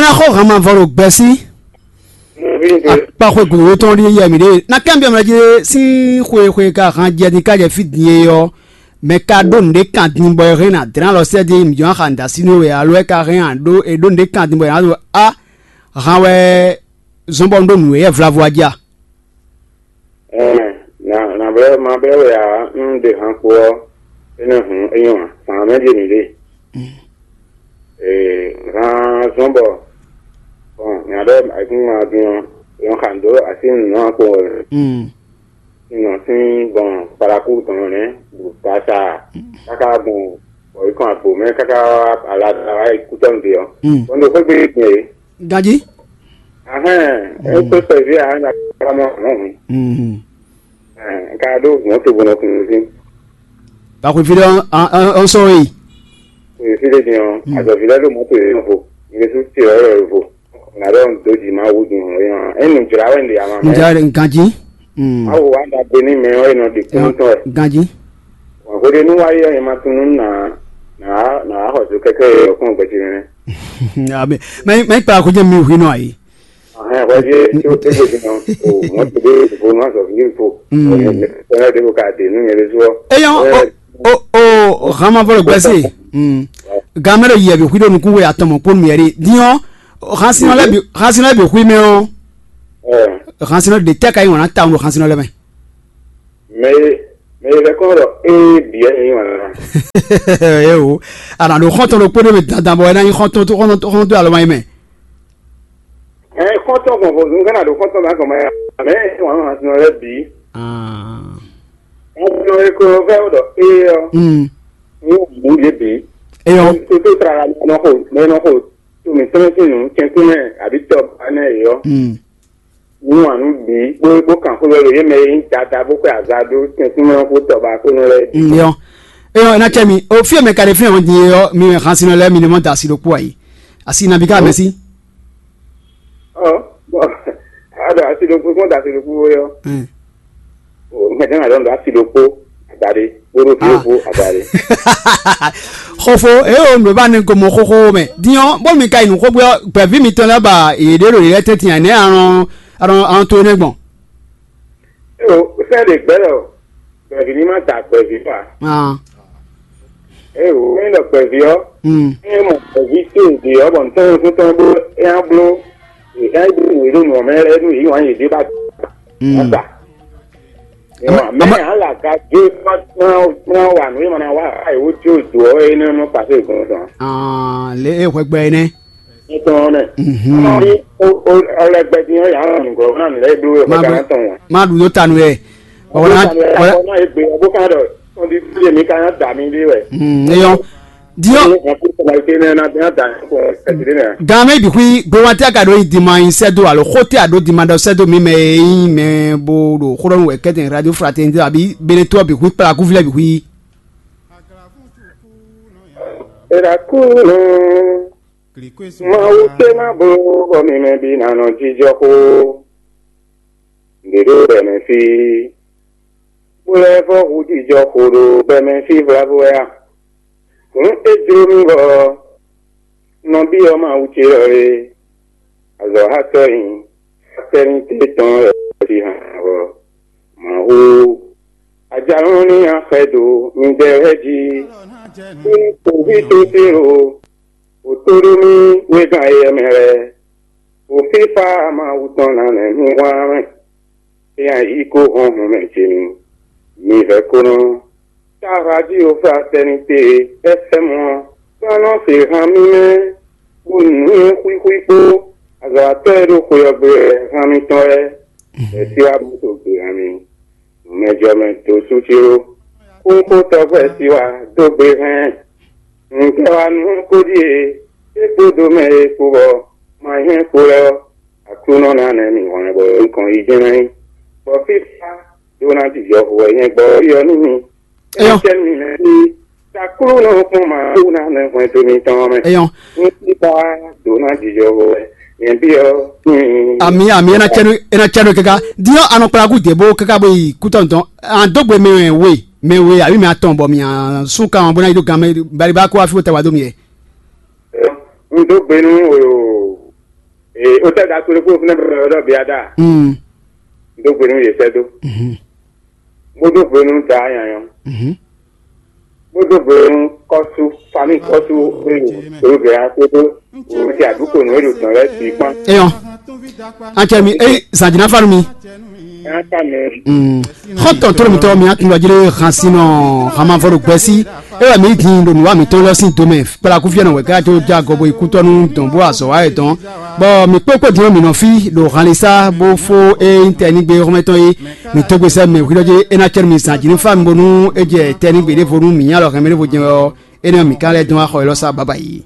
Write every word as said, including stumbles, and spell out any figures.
Ná xɔ han ma vɔ ɖo gbɛsí. Akpaxwe gǔdo tɔn ɖi yɛ mǐ ɖe. Na kɛn biɔ mɛ jí sín xwe xwe ka han jɛ ní ka jɛ fí din e ɔ́, mɛ ka ɖó nǔɖé kan din bɔ é hɛn ná dlɛ́n alɔ sɛ́ dí mǐ jɔ́n xa nǔ dó así nú we alo é ka hɛn ǎ ɖó é ɖó nǔɖé kan din bɔ é ná ɖo a han wɛ zɔ́n bɔ un ɖó nǔ e yɛ vlavo a jí a? Ɛɛ, nǎ nǎ blɛ́ ma blɛ́ wɛ ǎ, un ɖe han kpo ɔ́, énɛ́ hǔn é nyɔ́ ǎ, zǎn mɛ ɖíe mǐ ɖe. Ee, han zɔ́n bɔ bɔn nya ɖɔ ayǐkúngban din ɔ́, è nɔ xa nǔ dó así nǔnɔ kpo wɛ. Nɔ sín gbɔn kpalaku tɔn nɛ́, ɖo kasa káká gbɔn bɔ yě kɔn agbo mɛ káká wá ala da wá yi kútɔ́nu ɖe ɔ́. Bɔn ɖo xwé gbe gbɔn é. Ganjí. Ahɛn, é tó sɛví a nya kpala mɔ hɔn. Ka ɖó mɔ̌ to bɔnɔ kun sín. Ba xwe fí ɖé ɔ́ sɔ́ we yi. Xwe fí ɖé din ɔ́, azɔ̌ví lɛ́ɛ ɖo mɔ̌ to yě nɔ vo. Yě sú te ɔ́ yɔ vo. Nǎ ɖɔ un dó jǐ má wú din hɔn é nɔ. É nǔ jlá wɛ un ɖe ama mɛ. Nja ɖe ganjí. Awu wa ɖagbe ní mɛ ɔ́ é nɔ ɖi kún tɔn wɛ. Ganjí. Hwɛ̌xwé ɖé nú wá yi ɔ́, è ma tunú nà nà nà xɔ zo kɛ́kɛ́ yɛ ɔ́ kpɔ́n gbɛjɛ nɛnɛ. Mɛ mɛ kpa ko jẹ́ mi hwi nɔ ayi. Ahɛn hwɛjɛ tí ó tɛgbɛ jìnnà o mɔtò ɖé ìbò nù azɔ fún ìfò. Ɛnɛ ɖé ko ka dé nù yẹn lé zɔ. Eyɔn o o o hama vɔ gbɛsɛ. Gamɛ ɖo yɛ bi hwi ɖo nukun we atɔmɔ kpɔn mi yɛ ɖi diɔ hansinɔ lɛ bi hansinɔ lɛ bi hwi mɛ o. Hansinɔ de tɛ ka yi wana ta ŋu hansinɔ lɛ mɛ. Mɛ mɛ yɛ lɛ kɔn ɖɔ ee biɛ ni wana. Ewo ana ɖo xɔntɔn ɖo kpóɖó mɛ dandan bɔ ɛna nyi xɔntɔn tó xɔntɔn tó alɔ ma yi mɛ. Ɛ xɔntɔn gbɔn vo zun kana ɖo xɔntɔn ma gbɔn ma ya mɛ wan wan sinɔ lɛ bi. Wan sinɔ lɛ ko fɛ o ɖɔ ee ɔ. Ni o bu ye bi. Eyɔ. Toto tra la nɔ ko mɛ nɔ ko to mi tɔn ti nu kɛntun mɛ abi tɔ ba nɛ yɔ. Ní wǎn nú bǐ bó bó kan xó lɛ́ɛ ɖo yě mɛ e nyí dada bó xwé aza ɖó tɛ́nkún mɛ ɔ́ kpó tɔba kpó nɔ lɛ́ɛ bǐ. Yɔ eyɔ ena cɛ mi o fí e mɛ ka ɖe fínɛ́ ɔ́ din é ɔ́ mi mɛ xan sinɔ lɛ́ɛ mi ní mɔ da asi ɖokpó ayi asi nabí ká mɛ sí. Ɔ bɔn a ɖo asi ɖokpó kpɔn da asi ɖokpó wé ɔ́. Mɛ tɛ́ nɔ ɖɔ asi ɖokpó adaɖé kpódó fífó adaɖé. Xofo eye wo nǔ e ba ne gomɔ xoxo mɛ din ɔ́ bó mi ka yi nǔ xógbé ɔ́ gbɛ̌ví mitɔn lɛ́ɛ ba yě ɖe ɖo yě lɛ́ɛ tɛ́ntin ǎ nɛ́ alɔn alɔn alɔn to énɛ́ gbɔn. Eo sɛ́ ɖe gbɛ́ lɔ gbɛ̀ví ní má da gbɛ̀ví ǎ. Eo é ɖɔ gbɛ̀ví ɔ́ é mɔ gbɛ̀ví tó èdè ɔ́ bɔ nǔtɔn nukún tɔn bó é á bló é á bló nǔ e ɖo nǔ ɔ́ mɛ lɛ́ɛ nú yě wǎn yě ɖé ba da. Mɛ alaga dó kpɔ́n wa nǔ e ma ná wa ayi wó jó dǒ ɔ́ é nɛ́ nɔ kpasó ìgbɔn tɔn. Lě e hwɛgbɛ é nɛ́. Tɔn nɛ. Ní ọlẹgbẹ dín ɔ́ yà á ràn nùgbọ́ fún àmì lẹ́yìn bló wẹ̀ fún gánà tán wọn. Má ɖu dó tanu yɛ. Ọ̀nà ọ̀nà ègbè ọ̀bọ kan dọ̀ tọ́ndí sílé mi ká yàn dà mí dé wẹ̀. Eyɔn. Diɔ. Ní wọn fún ọmọ ìké náà náà bí wọn dà ní kò ẹ̀sìn náà. Gan mɛ bi xwi gbé wa tɛ ka ɖo yi dima yi sɛ do alo xo tɛ a ɖo dima ɖɔ sɛ do mi mɛ yi mɛ bo ɖo xo ɖɔ nu wɛ kɛtɛ radio fraternité abi bene to bi xwi kpla kú filɛ bi xwi. Ìràkúrò Mawu tɛ́ ná bló bɔ mi mɛ bǐ ná nɔ jijɔ xó. Nǔɖé ɖo bɛmɛ fí, bó lɛ́ vɔ́ hu jijɔ xo ɖo bɛmɛ fí vlavo wɛ a? Hǔn é jló mì bɔ nɔbí ɔ́ Mawu ce ɔ́ é, azɔ̌hatɔ́ nyi, fratɛ́nité tɔn wɛ ɔ́ jí hǎn ɔ́. Mawu, ajalɔ́ ní axɛ ɖo midɛɛ lɛ́ɛ jí, kú kpoví tó tɛ́nlo, wǒ tó ɖó mì wégán éyɛ́ mɛ lɛ́ɛ, wǒ fífá Mawu tɔn ná nɛ́ mì hwlán mɛ. É nya yí kó hɔn hɔn mɛ ce mi, mi vɛ̌ kó nɔ. Táhwájí o fratɛ́nité e é fɛ́ mɔ ɔ́, kpán nɔ se han mì mɛ, kpó nǔnywɛ́ xwíxwí kpó azɔ̌watɔ́ e ɖo xwe ɔ́ gbe wɛ han mitɔn lɛ́ɛ, bɔ é sí wá bó so gbe han mi. Nǔmɛjɔmɛ dǒ sú ce ó, kúnxó tɔgbɛ́ sí wá dó gbe hɛn. Nǔkɛ wá nú kó ɖíe, é kpódó mɛ e kpo bɔ ma nyí kpo lɛ́ɛ ɔ́, Aklúnɔ ná nɛ́ mì hwlɛ́n bɔ nukɔn yi jɛ́n ná nyí. Bɔ fífá ɖó ná jijɔ hu wɛ nyɛ gbɔ ɔ́ nú mi. Éyɔ́. Étɛ́ mi mɛ ní Aklúnɔ kpɔ́n ma ɖó ná nɛ́ hwlɛ́n to mitɔn ɔ́ mɛ. Éyɔ́. Ní fífá ɖó ná jijɔ hu wɛ nyɛ bí ɔ́. Ami ami ena cɛnu ena cɛnu keka diɔ anɔkplaku debo keka bo yi kutɔntɔn an dogbe mɛ we mɛ we abi mɛ atɔn bɔ mi an sun kan bɔ na yi do gan mɛ bari ba ko afi wo tɛ wa do mi yɛ. N dó gbe nú o O tɛ da kple kó fúnɛ bɛ ɖɔ biada. Mm. Dó gbe nú yě sɛ́ dó. Mhm. Bó dó gbe nú da nyanyɔ. Mhm. Bó dó gbe nú kɔ́sú, famí kɔ́sú, olùgbé akpótó, òun ti àdúgbò nú èlò tán lɛ́ sí kpán. Eyɔn. Atsɛ mi, eyi zanjina fanu mi. Ɛ ká mi. Mm. Xɔtɔn tó lomutɔ mi akin lɔjile hansinɔ hamavɔ ɖo gbɛsi. Ewɛ mi din ɖo nuwa mitɔn lɔ sin domɛ. Kpala kufiɛ nɔ wɛ ká tó ja gɔbɔ ikutɔnu dɔn bó azɔ wa yɛ dɔn. Bɔ mi kpó kpó din mi nɔ fi ɖo hanlisa bó fó e nyí tɛnigbe xɔmɛtɔn e mi tógbe sɛ mɛ hwi lɔ dzi e ná cɛ mi zan jǐ ní fa mi bónú e jɛ tɛnigbe ɖěvo nú mi nyí alɔ hɛn mi ɖěvo jɛ ɔ énɛ́ mi ka lɛ́ dɔn axɔ élɔ́ sá baba yi.